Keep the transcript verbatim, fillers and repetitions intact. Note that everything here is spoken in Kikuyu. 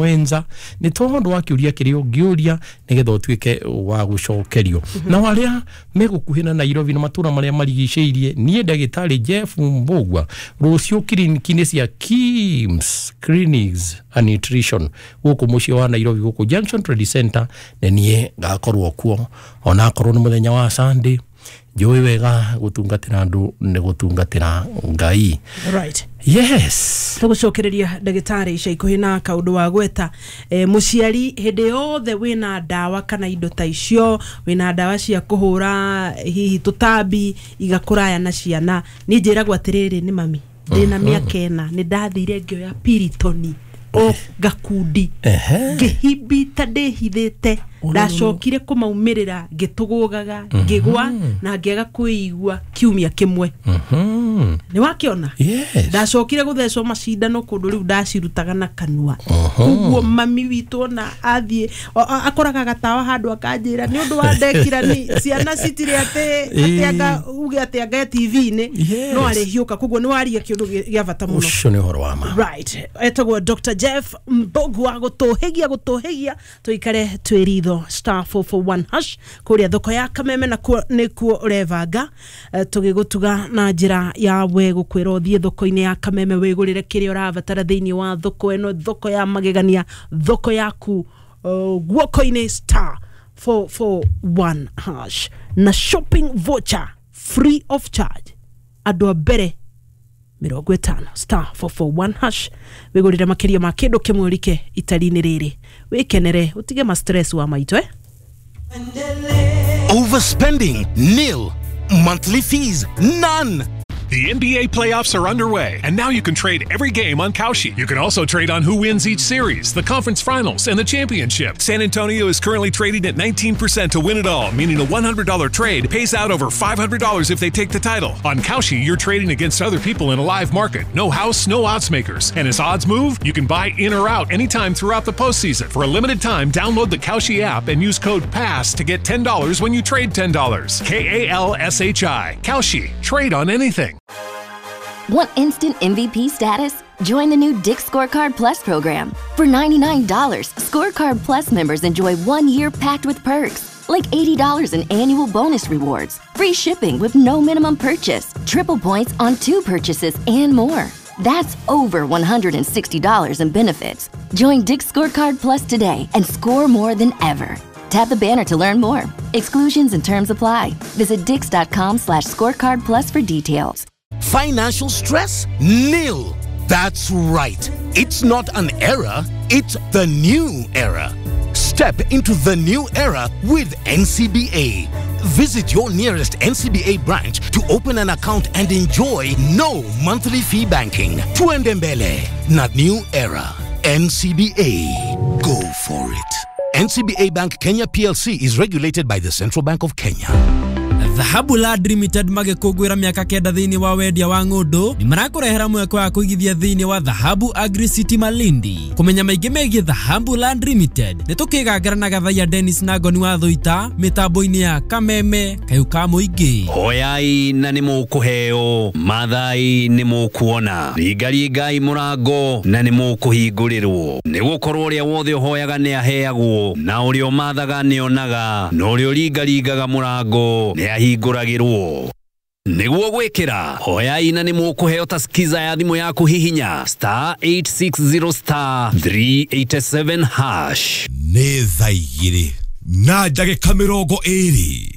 mwenza nĩ tondũ wa kĩũria kĩrĩa ũngĩũria nĩgetha ũtuĩke wa gũcokerio. Na arĩa megũkuhĩ na Nairobi na matũra marĩa marigicĩirie, niĩ ndagĩtarĩ Jeff Mbugua rũciũ kiriniki-inĩ cia Kims Clinics and Nutrition gũkũ mũciĩ wa Nairobi, gũkũ Junction Trade Center, nĩ niĩ ngakorwo kuo onakorwo nĩ mũthenya wa Sunday. Njũĩ wega gũtungatĩra andũ nĩ gũtungatĩra Ngai. Right. Yes. Tũgũcokereria ndagĩtarĩ ica ikuhĩ na kaũndũ wa gweta e, mũciari hĩndĩ yothe wĩna ndawa kana indo ta icio, wĩna ndawa cia kũhũra hihi tũtambi igakũraya na ciana. Niĩ njĩragwo atĩrĩrĩ, nĩ mami ndĩna mĩaka ĩna nĩ ndathire ngĩoya piritoni o gakundi ngĩhimbita ndĩhithĩte, ndacokire kũmaumĩrĩra ngĩtũgũgaga ngĩgwa na ngĩaga kwĩigua kiumia kĩmwe. Nĩ wakĩona? Ndacokire gũthecwo macindano kũndũ rĩu ndacirutaga na kanua. Koguo mami witũ ona athiĩ akoraga gatawa handũ akanjĩra nĩ ũndũ wa ndekira ni ciana citirĩ atĩ atĩ anga uge atĩ anga T V-inĩ no arĩhiũka. Koguo nĩ waria kĩũndũ gĩa bata mũno. Ũcio nĩ ũhoro wa ma. Right. Etagwo Doctor Jeff Mbugua gũtũhĩgia gũtũhĩgia tũikare twĩ ritho star four four one hash kũrĩa thoko ya Kameme na kuo nĩkuo ũrebanga tũgĩgũtuga na njĩra ya we gũkwĩra ũthiĩ thoko-inĩ ya Kameme wĩgũrĩre kĩrĩa ũrabatara thĩinĩ wa thoko ĩno, thoko ya magegania, thoko yaku guoko-inĩ star four four one hash na shopping voucher free of charge andũ a mbere mĩrongo ĩtano star four four one hash wĩgũrĩre makĩria ma kĩndũ kĩmwe ũrike itari-inĩ rĩrĩ wĩkenere ũtige ma stress wa maitũ eh? Overspending nil, monthly fees none. The N B A playoffs are underway, and now you can trade every game on Kalshi. You can also trade on who wins each series, the conference finals, and the championship. San Antonio is currently trading at nineteen percent to win it all, meaning a one hundred dollar trade pays out over five hundred dollars if they take the title. On Kalshi, you're trading against other people in a live market. No house, no odds makers. And as odds move, you can buy in or out anytime throughout the postseason. For a limited time, download the Kalshi app and use code PASS to get ten dollars when you trade ten dollars. K A L S H I. Kalshi. Trade on anything. Want instant M V P status? Join the new Dick's Scorecard Plus program. For ninety-nine dollars, Scorecard Plus members enjoy one year packed with perks, like eighty dollars in annual bonus rewards, free shipping with no minimum purchase, triple points on two purchases, and more. That's over one hundred sixty dollars in benefits. Join Dick's Scorecard Plus today and score more than ever. Tap the banner to learn more. Exclusions and terms apply. Visit dicks.com slash scorecard plus for details. Financial stress? Nil. That's right. It's not an era, it's the new era. Step into the new era with N C B A. Visit your nearest N C B A branch to open an account and enjoy no monthly fee banking. Tuende mbele na new era. N C B A. Go for it. N C B A Bank Kenya P L C is regulated by the Central Bank of Kenya. Dhahabu Land Limited magĩkũngũĩra mĩaka kenda thĩinĩ wa wendia wa ng'ũndũ nĩ marakũrehera mweke wa kũigithia thĩinĩ wa Dhahabu Agri City Malindi. Kũmenya maingĩ megiĩ Dhahabu Land Limited nĩ tũkĩgangara na Gathaiya Dennis na Ngoni wa Thũita mĩtambo-inĩ ya Kameme kayũ ka mũingĩ. Hoyai na nĩ mũkũheo, mathai nĩ mũkuona, ringaringai mũrango na nĩ mũkũhingũrĩrwo, nĩ gũkorwo ũrĩa wothe ũhoyaga nĩ aheagwo, na ũrĩa ũmathaga nĩ onaga, na ũrĩa ũringaringaga mũrango nĩ ahingũragĩrwo. Nĩguo gwĩkĩra hoyai na nĩ mũkũheo ta skiza ya thimũ yaku hihinya star eight six zero star three eight seven hash. Nĩ thaa igĩrĩ na ndagĩka mĩrongo ĩrĩ.